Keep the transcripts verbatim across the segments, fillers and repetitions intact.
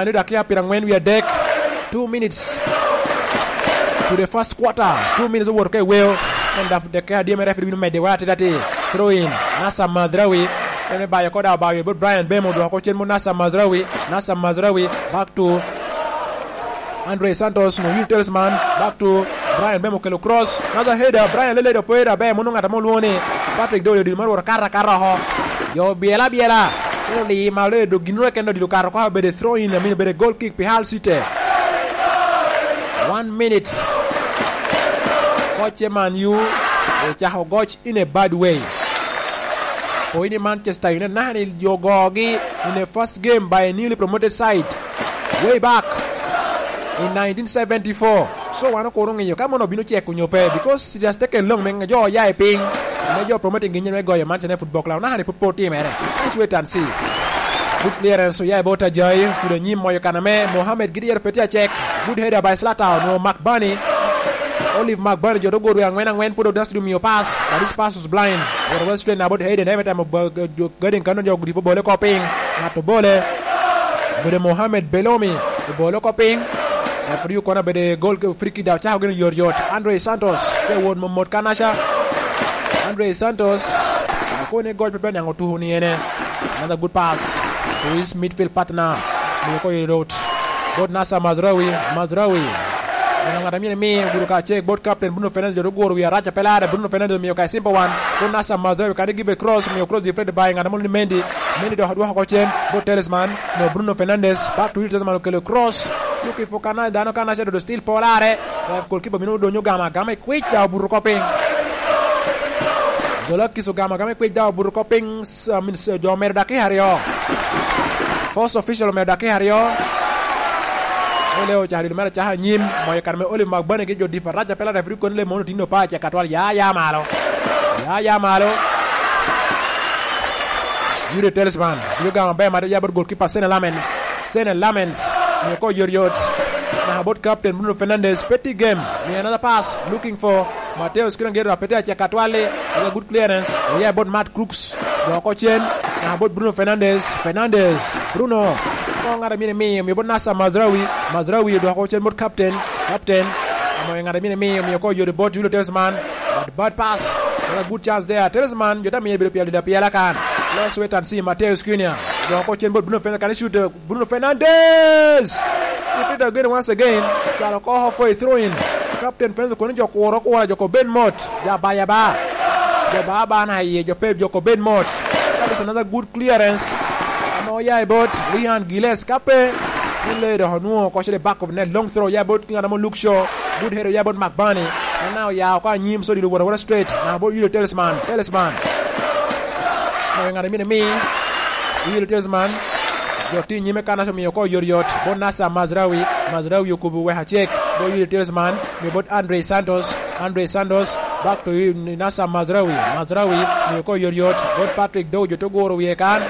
Ane dakika pyerangwen wie adek. Two minutes to the first quarter. Two minutes owoto ka i weo. En daf dakika adye me referee bino medde wa atida ti. Throw in. Nasser Mazraoui. En me bayo oko daŋ obayo bot Bryan Mbeumo, odwoko cen bot Nasser Mazraoui. Nasser Mazraoui. Back to Andre Santos, no, Yuri Tielemans, back to Bryan Mbeumo, okelo cross. Another header, Bryan lele do poyo aber, mono ŋat ame olwoŋo ni Patrick Dowell odilo mar wot akato akata oko. Jo obyelo abyela. Ento liyi malo, dok gin ru eken odilo okato oko, obedo throw in, I mean, obedo goal kick pi Hull City. One minute. Koc e Man U ocako goc in a bad way. Pwod ni Manchester United naka ni jo ogogi in a first game by a newly promoted side way back in nineteen seventy-four. So wan okuro ŋeyo ka mono obino cek onyo pe, because it has taken long me jo oya i piny, me jo promoting gi nyen me goyo Manchester United Football Club. Naka ni pud pe otimere. Let's wait and see. Good clearance oya i bot Ajayi, kudo anyim moyo kan ame Mohamed Gidyer pe tye acek. Good header by Zlatan, onwoŋo Mark Burney. Olive Mark Burney, jo dogoro angwen angwen, pwod odac tudu miyo pass, but this pass was blind. Wot west straight na bot Hayden, every time gading kano jo gudipo bole oko piny. Ŋat obole. Obedo Mohamed Belomi, obole oko piny. Referee okono obedo gol, free kick daŋ ocako gin yot yot. Andre Santos, ce wot mot mot kanaca. Andre Santos, akone goc pe pe niaŋ otuko ni ene. Another good pass to his midfield partner. Miyo ko i rot. Bot Nasser Mazraoui, Mazraoui. Mano ŋat a myero imi gudo ka cek bot captain Bruno Fernandes, jo doguro wi araca pe larre, Bruno Fernandes omiyo ka i simple one. Bot Nasser Mazraoui, kan give a cross, omiyo cross deflected by ŋat a mol ni Mendy. Mendy dok odwoko oko cen, bot Tielemans, no Bruno Fernandes, back to Tielemans okelo cross. Looking for kana, dano kanaca dodo still pe olarre. Goalkeeper bino odonyo ogamo agama i kwic, daŋ obuto oko piny. Zolakis ogamo agama i kwic, daŋ obuto oko piny. S-, I mean, s-, jo omedo dakika aryo. First official omedo dakika aryo. Ole ocako dilo mere acaka anyim, moyo kare me Olive Magbane gi jo dif araca pe la referee kono le mono tinno pa acek atwal, ya, ya malo. Ya, ya malo. Yuri Tielemans, bino gamo maber, mado ya bot goalkeeper Senne Lammens. Senne Lammens, miyo ko yot yot. Naka bot captain Bruno Fernandes, petty game. Miyo another pass, looking for Mateus Cunha, gero apete acek atwal-li. Oya good clearance, oya bot Matt Crooks. Dok oko cen, naka bot Bruno Fernandes. Fernandes, Bruno. Ko ŋat a myero imiyo, miyo bot Nasser Mazraoui. Mazraoui odwoko cen bot captain. Captain, omoyo ŋat a myero imiyo, miyo ko yot bot Yuri Tielemans. But bad pass. Another good chance there. Tielemans, jo te miyo bedo pyel da pyela kan. Let's wait and see. Mateus Cunha. Dok oko cen bot Bruno Fernandes, kan shoot, uh, Bruno Fernandes! He fit again once again. Cwalo oko for a throw in. Captain Fernandes kono jo kuro kura, jo ko ben mot. Ja ba, ja ba. Ja ba ba na iye, jo pe, jo ko ben mot. That is another good clearance. Ame oya i bot Ryan Gillies, ka pe. Ni le dok onwoŋo oko cede back of net, long throw oya bot ŋat amo Luke Shaw. Good header oya bot Magbane. En na oya oko anyim, so dilo wot awota straight. Na bot Yuri Tielemans. Tielemans. Moyo ŋat a myero imi. Yuri Tielemans. Jo ti nyime kan aco miyo ko yot yot. Bot Nasser Mazraoui. Mazraoui okubo wek acek. Bot Yuri Tielemans. Miyo bot Andre Santos. Andre Santos. Back to you, Nasser Mazraoui. Mazraoui. Miyo ko yot yot. Bot Patrick Dow, jo to guro wie kan.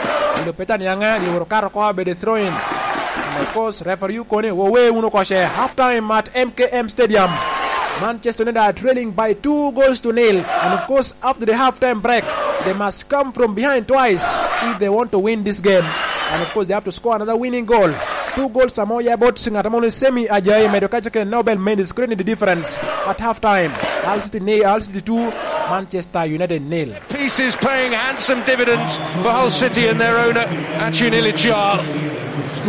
Ilo Peter Nianga. Ilo woro kato ko abede throw in. And of course, referee okone, wo we uno koce. Half time at M K M Stadium. Manchester United are trailing by two goals to nil. And of course, after the half time break, they must come from behind twice if they want to win this game. And of course, they have to score another winning goal. Two goals are more about Singata Moni Semi Ajayi, Medo Kachake, Nobel Mendes, creating the difference at half time. Hull City nil, Hull City two, Manchester United nil. Pieces paying handsome dividends for Hull City and their owner, Acun Ilicimali.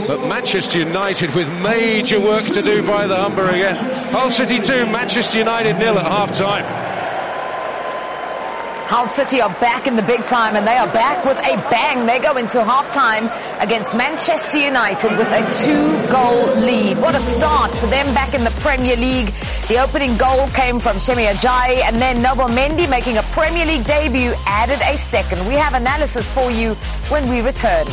But Manchester United with major work to do by the Humber again. Hull City two, Manchester United nil at half time. Hull City are back in the big time, and they are back with a bang. They go into half time against Manchester United with a two-goal lead. What a start for them back in the Premier League. The opening goal came from Semi Ajayi, and then Nobel Mendy, making a Premier League debut, added a second. We have analysis for you when we return.